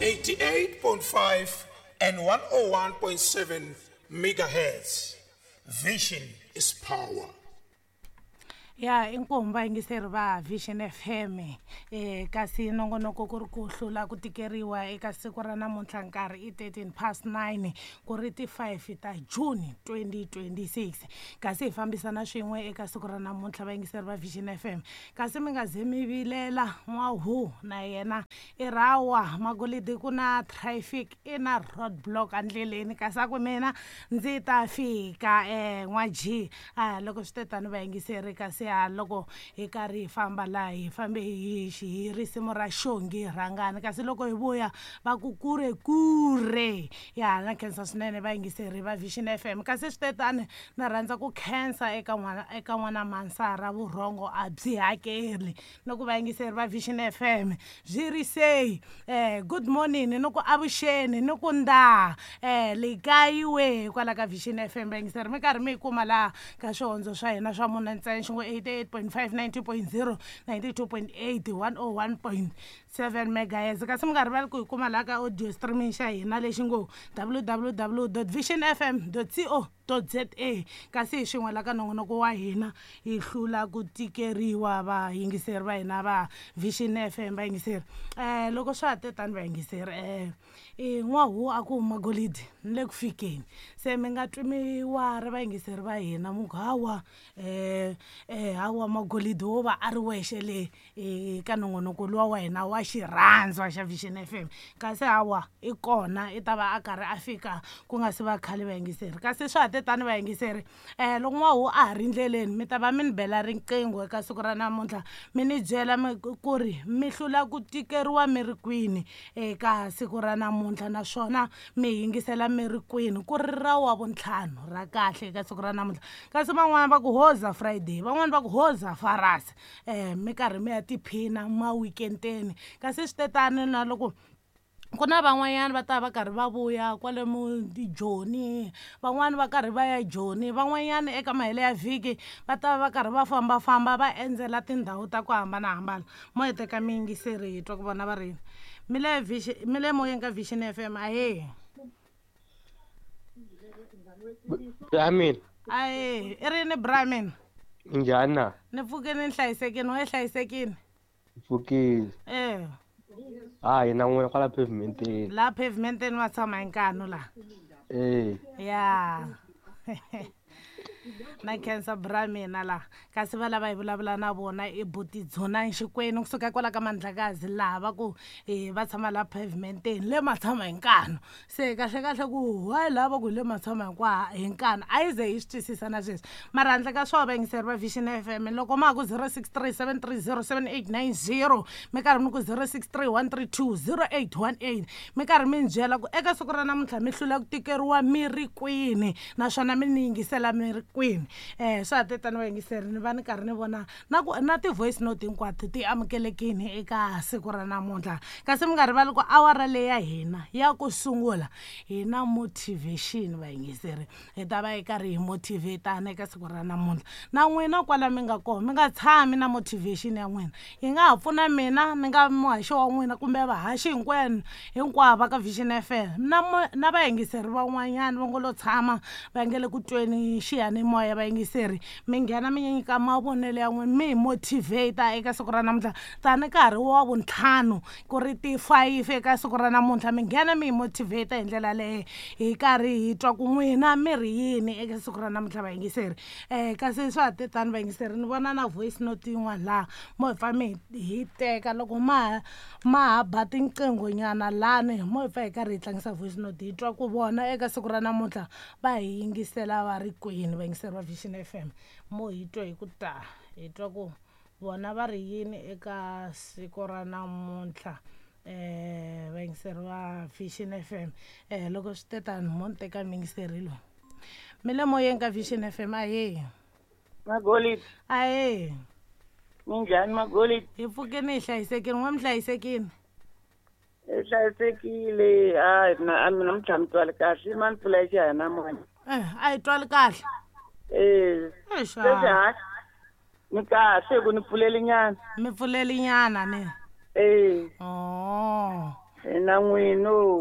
88.5 and 101.7 megahertz. Vision is power. Ya inkomu vayingiseri va Vision FM, kasi nongonoko ku ri ku hlula ku tikeriwa eka siku ra namuntlha. Nkarhi i 13 past 9, ku ri ti 5 ta June 2026, kasi hi fambisana swin'we eka siku ra namuntlha, vayingiseri va Vision FM. Kasi mi nga ze mi vilela, n'wahu na yena i rawa magolidi, ku na traffic, i na road block endleleni, kasi a ku mina ndzi ta fika. N'wa G a loko swi te tani, vayingiseri, kasi a loko hi karhi hi famba laha, hi fambe hi risimu ra Xongi Rhangani, kasi loko hi vuya va ku kure kure. Ya na khensa swinene, vayingiseri va Vision FM. Kasi swi te tani, na rhandza ku khensa eka n'wana Mansara, vurhongo a byi hakeli. Ni ku vayingiseri va Vision FM byi ri sei, good morning, ni ku avuxeni, ni ku nda likayiwe kwala ka Vision FM. Vayingiseri, mi karhi mi yi kuma laha ka swihondzo swa hina swa mune ntsena, xin'we 88.5, 90.0, 92.8, 101.7 megahertz. Kasi mi nga rivali ku hi kuma laha ka audio streaming xa hina lexi ngo www vision fm co za. Kasi hi xin'we la ka nongonoko wa hina, hi hlula ku tikeriwa, vayingiseri va hina va Vision FM. Vayingiseri, loko swa ha te tani, vayingiseri, n'wahu a ku magolidi ni le ku fikeni, se mi nga twi mi wari, vayingiseri va hina, mu ku hawa, hawa, magolidi wo va a ri wexe le ka nongonoko luwa wa hina wa xirhandzwa xa Vision FM. Kasi hawa, i kona, i ta va a karhi a fika ku nga si va khale, vayingiseri. Kasi swa ha te tani, vayingiseri, loko n'wahu a ha ri ndleleni, mi ta va mi ni bela riqingho eka siku ra namuntlha, mi ni byela mi ku ri mi hlula ku tikeriwa mi ri kwini eka siku ra namuntlha, naswona mi yingisela mi ri kwini, ku ri ra wa vuntlhanu ra kahle eka siku ra namuntlha. Kasi van'wani va ku hoza Friday, van'wani va ku hoza farasi, mi karhi mi ya tiphina ma weekendeni. Kasi swi te tani, na loko ku na van'wanyana va ta va karhi va vuya kwale mu Joni, van'wani va karhi va ya Joni, van'wanyana eka mahelo ya vhiki va ta va karhi va fambafamba, va endzela tindhawu ta ku hambanahambana. Mo hi teka miyingiseri, hi twa ku vona va ri yini. Mi le Vision, mi le moyeni ka Vision FM, ahee. Amen. Ahee, i rini, Bramin? Njhani na? Ni pfukini, ni hlayisekini, we hlayisekini? Pfukile. Hayi, na n'wina kwala pavementeni. Laha pavementeni va tshama hi nkanu laha. Eh. Ya na khensa, bra mina laha. Kasi va lava hi vulavula na vona i buti Dzonani Xikwenu kusuka kwala ka Mandlakazi, laha va ku va tshama laha pavementeni le matshama hi nkanu. Se kahle kahle ku why laha va ku hi le matshama hi nkanu, a yi ze hi swi twisisa na sweswi. Mara handle ka swona, vayingiseri va Vision FM, loko ma ha ku 063 730 7890, mi karhi mi ku 063 132 0818, mi karhi mi ni byela ku eka siku ra namuntlha mi hlula ku tikeriwa mi ri kwini, naswona mi ni yingisela mi ri kwini. Swa ha te tani, vayingiseri, ni va ni karhi ni vona na ku na ti-voice note hinkwato ti amukelekini eka siku ra namuntlha. Kasi mi nga rivali ku awara leyi ya hina ya ku sungula hi na motivation, vayingiseri, hi ta va hi karhi hi motivatana eka siku ra namuntlha. Na n'wina kwala mi nga kona, mi nga tshami na motivation ya n'wina, yi nga ha pfuna mina ni nga muhaxi wa n'wina kumbe vahaxi hinkwenu hinkwavo va ka Vision FM na vayingiseri van'wanyana va ngo lo tshama va nge le ku tweni xiyanimoya. Vayingiseri, mi nghena mi nyika mavonelo ya n'wina, mi hi motivate eka siku ra namuntlha, tani nkarhi wa vuntlhanu ku ri ti-5 eka siku ra namuntlha. Mi nghena mi hi motivate hi ndlela leyo, hi karhi hi twa ku n'wina mi ri yini eka siku ra namuntlha, vayingiseri. Kasi swa ha te tani, vayingiseri, ni vona na voice note yin'wana laha, mo hi pfa mi hi teka loko ma ha ba tinqingho nyana lani, mo hi pfa hi karhi hi tlangisa voice note, hi twa ku vona eka siku ra namuntlha va hi yingisela va ri kwini. Vayingiseri va Vision FM, mo hi twa hi ku ta hi twa ku vona va ri yini eka siku ra namuntlha. Vayingiseri va Vision FM, loko swi te tani, mo ni teka muyingiseri loyi. Mi le moyeni ka Vision FM, ahee. Magolidi. Ahee. Minjhani, Magolidi? Hi pfukeni, hi hlayisekini, n'we mi hlayisekini? Hi hlayisekile. Hayi, na a mina namuntlha mi twali kahle, ma ni pfula xiyanimoya. A hi twali kahle. Eh. Exa. Sweswi hayi, ni kahle ku ni pfuleli nyana. Mi pfuleli nyana ni? Eh. Oh. Hi. Na n'wino.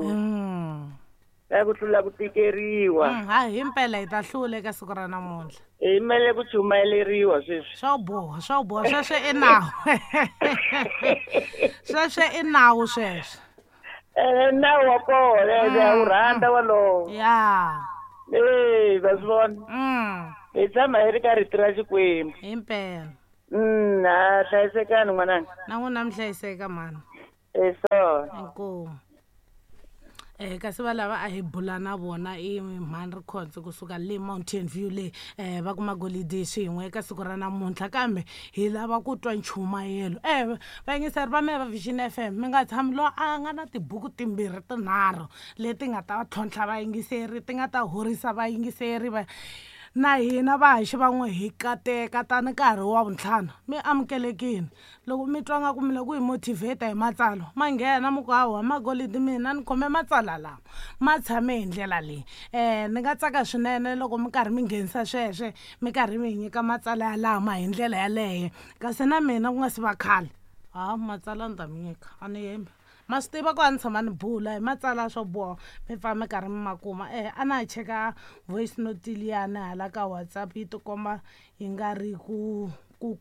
Ka ku hlula ku tikeriwa. Hayi himpela hi ta hlula eka siku ra namuntlha. Hi mele ku chumayeleriwa sweswi. Swa boha, swa boha sweswo i nawu. Sweswo i nawu sweswo. Nawu wa kona, ya wu rhandza walowo. Ya. Va swi vona. Hi tshama hi ri ka rito ra Xikwembu. Himpela. Ha hlayisekani n'wananga. Na n'wina mi hlayiseka mhani. Eswona. Inkomu. Kasi va lava a hi bula na vona i mhani Rikhondzo kusuka le Mountain View le va kuma golidi swin'we eka siku ra namuntlha kambe hi lava ku twa nchumayelo. Vayingiseri va mehe va Vision FM mi nga tshami loyi a nga na tibuku timbirhi tinharhu leti nga ta tlhontlha vayingiseri ti nga ta horisa vayingiseri va na hina vahaxi van'we hi kateka tani nkarhi wa vuntlhanu mi amukelekile. Loko mi twa nga ku mi lava ku hi motivate hi matsalwa ma nghena mi ku hawa magolidi mina ni khome matsalwa lama ma tshame hi ndlela leyi. Ni nga tsaka swinene loko mi karhi mi nghenisa sweswe mi karhi mi hi nyika matsalwa yalama hi ndlela yaleyo kasi na mina ku nga si va khale ha matsalwa ni ta mi nyika a ni hembi. Ma swi tiva ku a ni tshama ni bula hi matsalwa swo boha mi pfa mi karhi mi ma kuma. A na ha cheka voice note liyani hala ka WhatsApp yi tikomba yi nga ri ku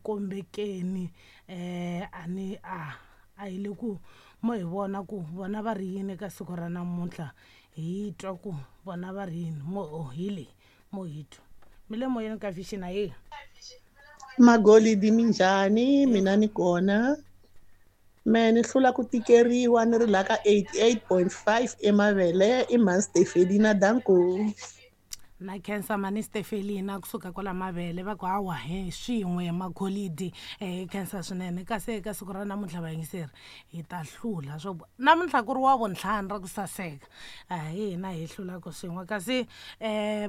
kombekeni. A ni a hi le ku mo hi vona ku vona va ri yini eka siku ra namuntlha hi twa ku vona va ri yini mo hi leyi mo hi twa mi le moyeni ka Vision ahe. Magolidi minjhani mina ni kona. Me ni hlula ku tikeriwa ni ri la ka 88.5 eMavele i mhani Stefelina danko. Na khensa mhani Stefelina kusuka kwala Mavele va ku hawa hi swin'we magolidi. Khensa swinene kasi eka siku ra namuntlha vayingiseri hi ta hlula swo namuntlha ku ri wa vuntlhanu ra ku saseka hi hina hi hlulaka swin'we kasi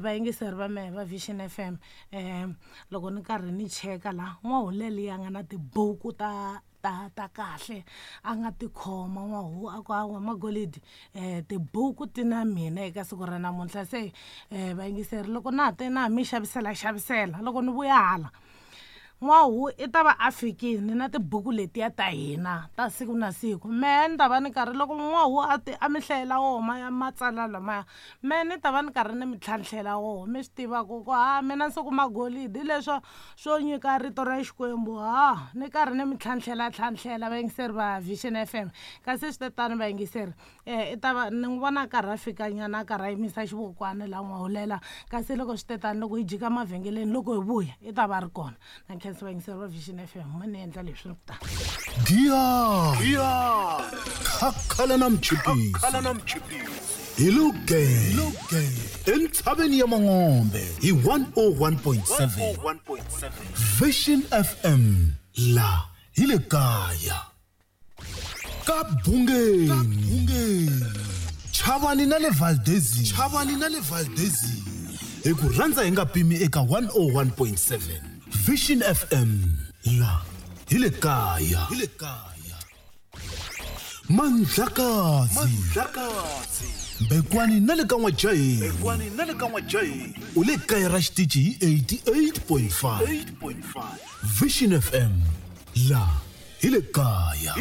vayingiseri va mehe va Vision FM loko ni karhi ni cheka la n'wahuleli ya nga na tibuku ta ta kahle a nga tikhoma n'wahu a ku hawa magolidi tibuku ti na mina eka siku ra namuntlha se vayingiseri loko na ha te na ha mi xavisela xavisela loko ni vuya hala n'wahu i ta va a fikile na tibuku letiya ta hina ta siku na siku mehe ni ta va ni karhi loko n'wahu a ti a mi hlayela wona ya matsalwa lamaya mehe ni ta va ni karhi ni mi tlhantlhela wona mi swi tiva ku ha mina se ku magolidi leswo swo nyika rito ra Xikwembu ha ni karhi ni mi tlhantlhela tlhantlhela vayingiseri va Vision FM kasi swi te tani vayingiseri i ta va ni n'wi vona a karhi a fikanyana a karhi a yimisa xivokwana laha n'wahulela kasi loko swi te tani loko hi jika mavhengeleni loko hi vuya i ta va ri kona. Na khensa vayingiseri va Vision FM ma ni endla leswi ni ku ta. Giya khakhala na mchipisi hi lo entshaveni ya Mangombe hi 101.7 Vision FM la hi le kaya ka Bungeni Chavani na le Valdezia hi ku rhandza hi nga pimi eka 101.7 Vision FM la hi le kaya Mandlakazi Bekwani na le ka N'wajaheni u le kaya ra xitichi hi 88.5 Vision FM la hi le kaya.